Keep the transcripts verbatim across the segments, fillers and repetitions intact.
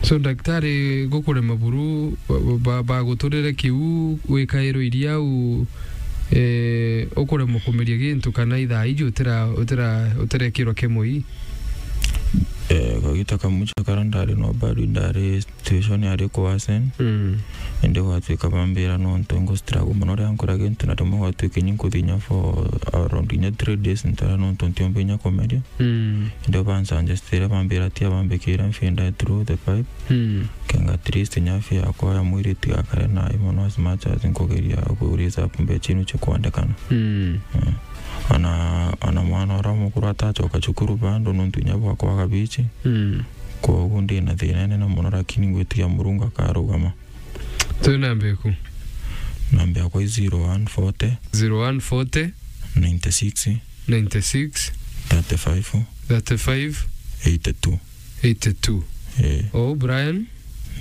So, daktari, gukurema buru, ba-, ba-, baguturire kiu, wikairwo iria au, eh, ukuremwa kumeria gintu, kana ithaa iji utira-, utira-, utirekirwa kemo ii? Eh, kagita kamwe ja kara ndari no bado ndari situation yari kuwasen. Mm. Indi gwatuika bambira nontu ngu struggle mono ria nkora gintu, na rimwe gwatuika inya nkuthi inya for around inya three days ntara nontu ntiumba inya kumeria. Mm. Indi bansuggestire, bambira tia bambikire mfinda through the pipe. Mm. Kenga at least nyafi yakwa ya mwiri itigakare nayo mono as much as nkugeria ku raise up mbecha inu cia kwandikana. Mm. Eh. Ana, ana mwana uria mukuru atacoka cukuru bado nontu inya bwa kwaga bichi. Mm. Kwoguo ndi na thina inene mono, lakini ngwitikia Murungu akarugama. Twi namba iku? Namba yakwa i zero one forty, zero one forty, ninety six, ninety six, thirty five, thirty five, eighty two. Eighty two. Eh. Oh, Brian?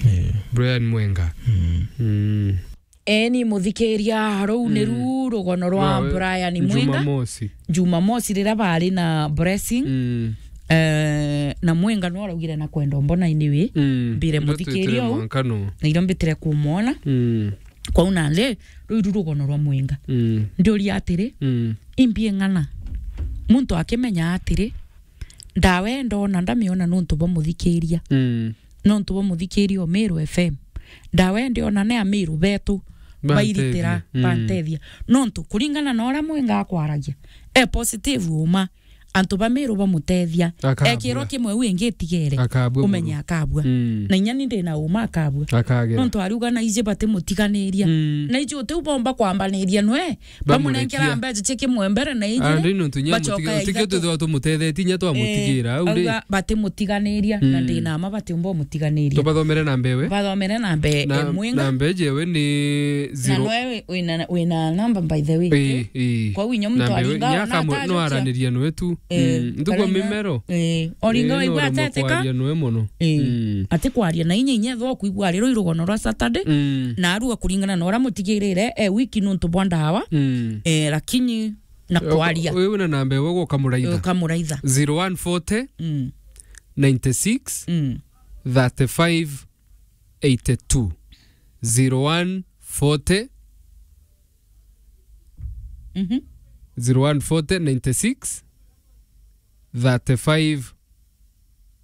Eh. Brian Mwenga. Mm. Mm. Eni muthikiria, ruu ni Mm. ru rugono rwa Rwa we-, Brian Mwenga. Jumamosi. Jumamosi riria bari na Blessing. Mm. Eh, na Mwenga no araugire na kwenda mbona iniwi. Mm. Mbire Ndio muthikiria twitire u. Mwankano. Na irio mbitire kumwona. Mm. Kwou nandi, ruu iru rugono rwa Mwenga. Mm. Ndiuria atiri, Mm. imbi ng'ana. Muntu akimenya atiri, ndawa ii ndona ndamiona nontu bwa muthikiria. Mm. Nontu bwa muthikiria o Meru F M. Ndawa ii ndiona ni Ameru betu Bantethia. Bairitira, Mm. bantethia. Nontu kuringana na uria Mwenga akwaragia, e positive uma. Antu ba Meru bamutethia. Akabua. Ekirwa kimwe u ingi itigere. Akabua Umenye buru. Akabua. Mm. Na inya ni ndina uma akabua. Akagera. Nontu ariuga na iji batimutiganiria. Mm. Na iji utiu bomba kwambaniria nwe. Bamunenkera Bamurekia. Mbeca cia kimwe mbere na iji Andi nontu inya bacoka mutige-, ya utige ithatu. Twithirwa tumutethetie inya twamutigira, Eh, au ri? Auga batimutiganiria, na Mm. ndina ma batiumba umutiganiria. Tubathomere namba ewe. Bathomere namba e-, Na, e Mwenga. Namba eje ewe ni Na zero. Noe wi-, wina, wina namba by the way. Ii, ii. Kwou inya muntu Namba ewe, aringa inya ona akamwe-, no atajukia. Araniria noe tu. Eh, Mm, ntuku kana inya mimero. Eh, oringa Eh, waigua no ateteka. Kwaria noe mono. Eh, Mm. ati kwaria na inya inya ethwa kwigua ari ruu rugono rwa Saturday. Mm. Na arua kuringana na uria mutigirire, e wiki nontu bwa ndawa. Mm. Eh, lakini na kwaria. Uyu wina namba ewe ukamuraitha. Ukamuraitha. Zero one forty, Mm. ninety six, Mm. thirty five, eighty two. Zero one forty, Mhm. zero one forty, ninety six, thirty five,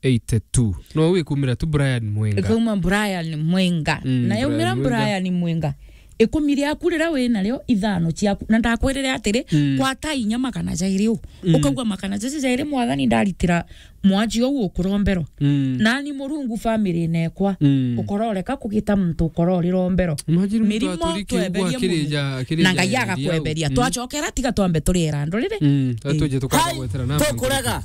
eighty two. No wikumira tu Brian Mwenga. Ikauma Brian Mwenga. Mm, Na yaumira Brian Mwenga. Brian Mwenga. Ikumi riaku riria wina rio, ithano ciaku. Na ndakwirire atiri, Mm. gwata inya magana jairi u. Mm. Ukaigua magana jairi, Mwathani ndaritira mwaji uu ukurombero. Mm. Nani Murungu family nekwa. Mm. Ukororeka kugita muntu ukororirombero. Imagine muntu Mirimo aturi kiugo tweberie akiri Murungu. Ja, akiri Na ja Ngai ya agakweberia. Mm. Twacokera tiga twambe turiera ndurire. Mm. Ii. Atuje tukaga Hai, gwetera namba tukurega.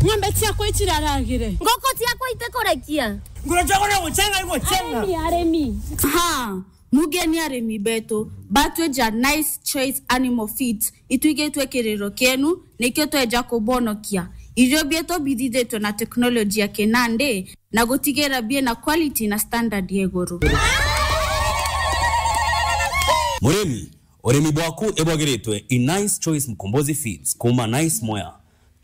Ng'ombe ciakwa iciraragire. Ngoko ciakwa itikurekia. Ngoro ciakwa no gucenga igucenga. Aremi, aremi. Ha, mugeni aremi betu, batweja Nice Choice Animal Feeds, itwigitwe kiriro kienu, nikio tweja kubonokia. Irio bietu bithithitwe na teknoloji ya kinandi, na gutigira biena quality na standard ya iguru. Murimi, urimi bwaku ibwagiritwe i Nice Choice Mkombozi Feeds kuma Nice Mwea.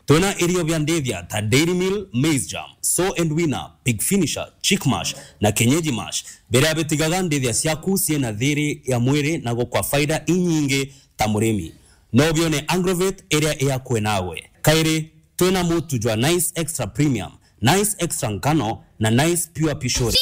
Twina irio bia ndithia ta Dairy Meal, Maize Germ, Sow and Weaner, Pig Finisher, Chick Mash na Kienyeji Mash, biria bitigaga ndithia ciaku ciina thiri ya mwiri na gukwa faida inyingi ta murimi. No bione Agrovet iria i akui nawe. Kairi, twina mutu jwa Nice Extra Premium, Nice Extra Ngano na Nice Pure Pishori.